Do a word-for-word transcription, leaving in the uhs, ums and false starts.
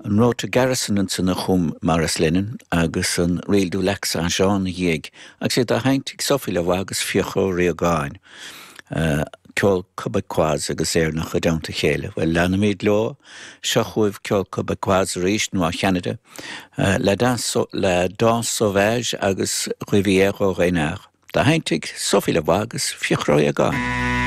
An Road to Garrison ansan a chum Maurice Lennon agus an Reel du Lac Saint-Jean ina dhiaidh, agus iad á sheinnt ag Sophie Lavoie agus Fiachra Ó Riagáin. Uh, ceol Quebecois agus Éireannach i dteannta a chéile. Well leanaimid leo seo chugaibh ceol Quebecois arís nó Cheanada, uh, la danse, la danse sauvage agus Rivière aux Renards. Á sheinnt ag Sophie Lavoie agus Fiachra Ó Riagáin.